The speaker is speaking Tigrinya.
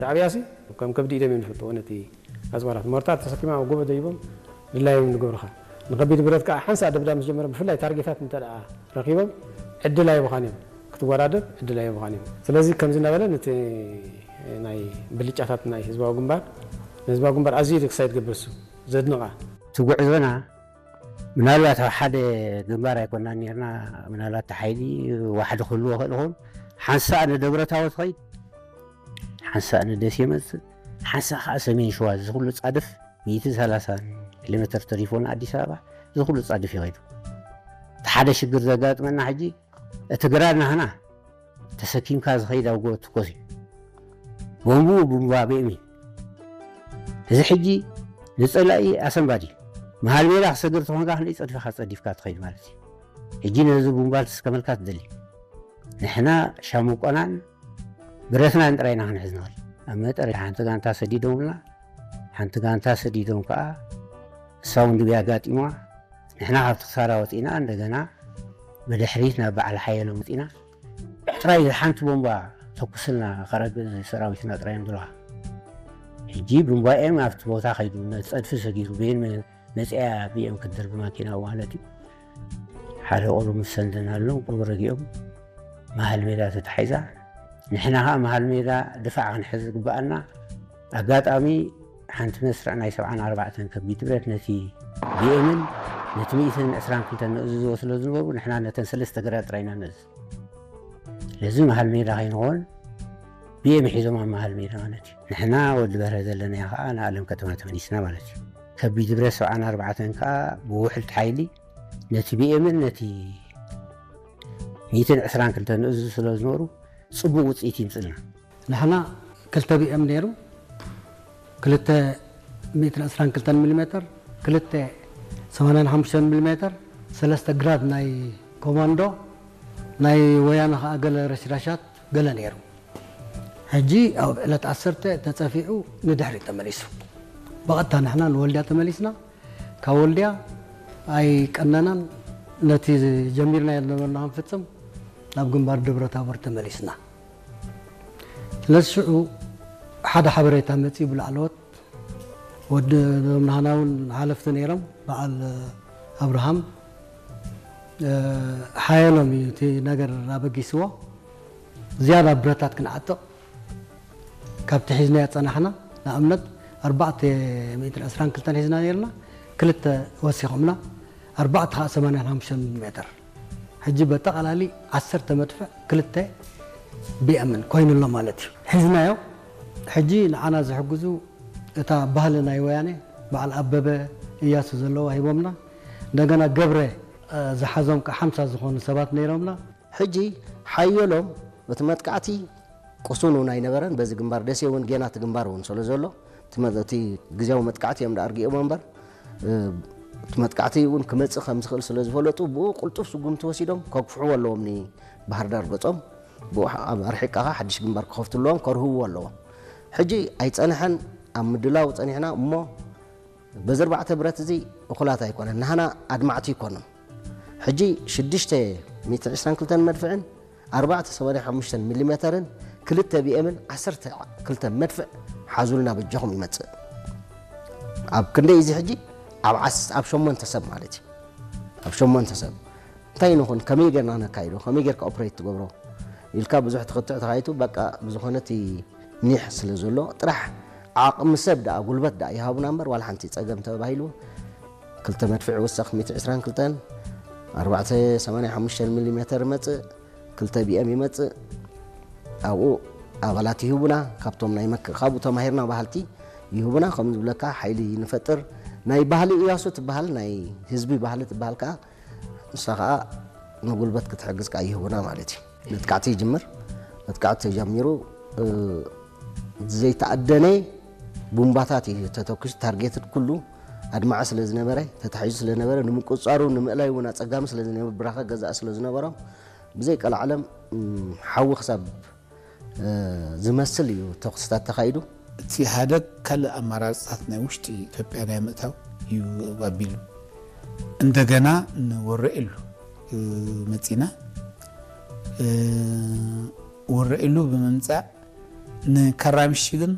ሻዕብያ ሲ ከም ከብዲ ኢዶም እዮም ዝፈልጥዎ ነቲ ኣፅዋራት። ሞርታር ተሰኪሞም ኣብ ጎቦ ደይቦም ድላዮም ንገብሩኻ። ንከቢድ ብረት ከዓ ሓንሳእ ደብዳብ ምስ ጀመረ፣ ብፍላይ ታርጌታት እንተ ደኣ ረኺቦም ዕድል ኣይብኻን እዮም፣ ክትወዳደር ዕድል ኣይብኻን እዮም። ስለዚ ከምዚ እናበለ ነቲ ናይ ብልጫታት ናይ ህዝባዊ ግንባር፣ ንህዝባዊ ግንባር ኣዝዩ ክሳይ ትገብር እሱ ዘድንቓ። እቲ ጉዕዞና ምናልባት ኣብ ሓደ ግንባር ኣይኮናን ነርና። ምናልባት እቲ ሓይሊ ዋሕዲ ክህልዎ ክእል ይኸውን። ሓንሳእ ንደብረታቦ ትኸይድ፣ ሓንሳእ ንደሴ መፅእ፣ ሓንሳእ ከዓ ሰሜን ሸዋ። እዚ ኩሉ ፃድፍ ሚእትን ሰላሳን ኪሎ ሜትር ተሪፎ ንኣዲስ ኣበባ፣ እዚ ኩሉ ፃድፍ ይኸይዱ። እቲ ሓደ ሽግር ዘጋጥመና ሕጂ፣ እቲ ግራድ ናህና ተሰኪምካ ዝኸይድ ኣብ ጎ ትኮስ እዩ። ቦምቡ ቡምባ ብኤም እዩ። እዚ ሕጂ ንጸላኢ ኣሰንባዲ መሃል ሜዳ ክሰግር ተኾንካ ክንደይ ጸድፍካ ጸዲፍካ ትኸይድ ማለት እዩ። ሕጂ ነዚ ቡምባ ልትስከመልካ ትደሊ። ንሕና ሻሙቆናን ብረትናን ጥራይና ክንሕዝ ንኽእል። ኣብ መጠር ሓንቲ ጋንታ ሰዲዶምና፣ ሓንቲ ጋንታ ሰዲዶም ከዓ እሳ እውን ድብያ ኣጋጢምዋ። ንሕና ካብቲ ክሳራ ወፂና እንደገና ብድሕሪት ናብ በዓል ሓየሎም ወፂና። ጥራይ ሓንቲ ቦምባ ተኩስልና ከረግእ ሰራዊትና ጥራይ እዮም ዝብሉኻ። ሕጂ ብንባኤም ኣብቲ ቦታ ከይዱ ነቲ ፀድፊ ሰጊሩ ቤን መፅያ ብኤም ክትድር ብማኪና ማለት እዩ። ሓደ ቆሎ ምስ ሰንደናሎም ቆሎ ረጊኦም መሃል ሜዳ ተታሒዛ። ንሕና ከዓ መሃል ሜዳ ድፋዕ ክንሕዝ ዝግበኣና ኣጋጣሚ ሓንቲ መስርዕ ናይ ሰብዓን ኣርባዕተን ከቢድ ብረት ነቲ ቢኤምን ነቲ ሚእትን ዕስራን ክልተን ንእዝዝዎ ስለ ዝነበሩ ንሕና ነተን ሰለስተ ግራት ጥራይና ነዝ ስለዚ መሃል ሜዳ ከይንኾን ቢኤም ሒዞም ኣብ መሃል ሜዳ ማለት እዩ። ንሕና ወዲ በርሀ ዘለናዮ ከዓ ንኣለም ከተማ ተመሊስና ማለት እዩ። ከቢድ ብረት ሰብዓን ኣርባዕተን ከዓ ብውሕልቲ ሓይሊ ነቲ ቢኤምን ነቲ ሚእትን ዕስራን ክልተን ንእዝዝ ስለ ዝነበሩ ፅቡቅ ውፅኢት ይምፅልና። ንሕና ክልተ ቢኤም ነይሩ፣ ክልተ ሚእትን ዕስራን ክልተን ሚሊ ሜተር፣ ክልተ ሰማንያን ሓሙሽተን ሚሊ ሜተር፣ ሰለስተ ግራድ ናይ ኮማንዶ፣ ናይ ወያነ ከዓ ገለ ረሽራሻት ገለ ነይሩ። ሕጂ ኣብ ዕለት ዓሰርተ ተፀፊዑ ንድሕሪት ተመሊሱ። ብቐጥታ ንሕና ንወልድያ ተመሊስና። ካብ ወልድያ ኣይቀነናን፣ ነቲ ጀሚርናዮ ዝነበርና ክንፍፅም ናብ ግንባር ደብረ ታቦር ተመሊስና። ስለዚ ሽዑ ሓደ ሓበሬታ መፂኡ ብላዕለዎት ወዲ ዞም ናህና እውን ሓለፍቲ ነይሮም፣ በዓል ኣብርሃም ሓየሎም እዩ እቲ ነገር ኣበጊስዎ። ዝያዳ ብረታት ክንዓጥቕ ካብቲ ሒዝናዮ ዝፀናሕና ንኣብነት ኣርባዕተ ሚእትን ዕስራን ክልተን ሒዝና ነይርና፣ ክልተ ወሲኾምና፣ ኣርባዕተ ከዓ ሰማንያን ሓሙሽተን ሜትር። ሕጂ በጠቓላሊ ዓሰርተ መድፍዕ ክልተ ቢኤምን ኮይኑ ኣሎ ማለት እዩ። ሒዝናዮ። ሕጂ ንዓና ዝሕግዙ እታ ባህሊ ናይ ወያነ በዓል ኣበበ እያሱ ዘለዋ ሂቦምና። እንደገና ገብረ ዝሓዞም ከዓ ሓምሳ ዝኾኑ ሰባት ነይሮምና። ሕጂ ሓየሎም እቲ መጥቃዕቲ ቅሱን እውን ኣይነበረን። በዚ ግንባር ደሴ እውን ጌና እቲ ግንባር እውን ስለ ዘሎ እቲ መ- እቲ ግዜያዊ መጥቃዕቲ እዮም ደኣ ኣርጊኦሞ እምበር እ፣ እቲ መጥቃዕቲ እውን ክመፅእ ከም ዝኽእል ስለ ዝፈለጡ ብኡ ቅልጡፍ ስጉምቲ ወሲዶም ከግፍሕዎ ኣለዎም ንባህር ዳር ገፆም። ብኡ ሓ- ኣብ ኣርሒቃኻ ሓድሽ ግንባር ክኸፍትለዎም ከርህብዎ ኣለዎም። ሕጂ ኣይፀንሐን፣ ኣብ ምድላው ፀኒሕና እሞ በዚ ኣርባዕተ ብረት እዚ እኹላት ኣይኮነን፣ ናህና ኣድማዕቲ ኣይኮኑን። ሕጂ ሽዱሽተ ሚእትን ዕስራን ክልተን መድፍዕን ኣርባዕተ ሰማንያ ሓሙሽተ ሚሊ ሜተርን ክልተ ቢኤምን ዓሰርተ ክልተ መድፍዕ ሓዙልና በጃኹም ይመጽእ። ኣብ ክንደይ እዚ ሕጂ ኣብ ዓስ ኣብ ሸሞንተ ሰብ ማለት እዩ። ኣብ ሸሞንተ ሰብ እንታይ ንኹን ከመይ ጌርና ነካይዶ ከመይ ጌርካ ኦፕሬት ትገብሮ ኢልካ ብዙሕ ትኽትዕ ተኻይቱ በቃ ብዝኾነ እቲ ኒሕ ስለ ዘሎ ጥራሕ ዓቕሚ ሰብ ደኣ ጉልበት ደኣ ይሃቡና እምበር ዋላ ሓንቲ ጸገም ተባሂሉ ክልተ መድፍዕ ይውሰኽ ሚእቲ ዕስራን ክልተን ኣርባዕተ ሰማንያ ሓሙሽተ ሚሊ ሜተር ይመጽእ ክልተ ቢኤም ይመጽእ ኣብኡ ኣባላት ይህቡና ካብቶም ናይ መክ ካብኡ ተማሂርና ባህልቲ ይህቡና ከም ዝብለካ ሓይሊ ንፈጥር ናይ ባህሊ እያሱ ትበሃል ናይ ህዝቢ ባህሊ ትበሃል ከዓ ንሳ ከዓ ንጉልበት ክትሕግዝ ከዓ ይህቡና ማለት እዩ። መጥቃዕቲ ይጅምር። መጥቃዕቲ ተጀሚሩ ዘይተኣደነ ቡምባታት እዩ ተተኩሱ። ታርጌትድ ኩሉ ኣድማዒ ስለ ዝነበረ ተታሒዙ ስለ ዝነበረ ንምቁፅፃሩ ንምእላይ እውን ኣፀጋሚ ስለ ዝነበረ ብራኸ ገዛእ ስለ ዝነበሮም ብዘይቀላዕለም ሓዊ ክሳብ ዝመስል እዩ ተኩስታት ተኻይዱ። እቲ ኢህኣደግ ካልእ ኣማራፅታት ናይ ውሽጢ ኢትዮጵያ ናይ ምእታው እዩ ኣቢሉ። እንደገና ንወረኢሉ መፂና። ወረኢሉ ብምምፃእ ንካራምሽ ግን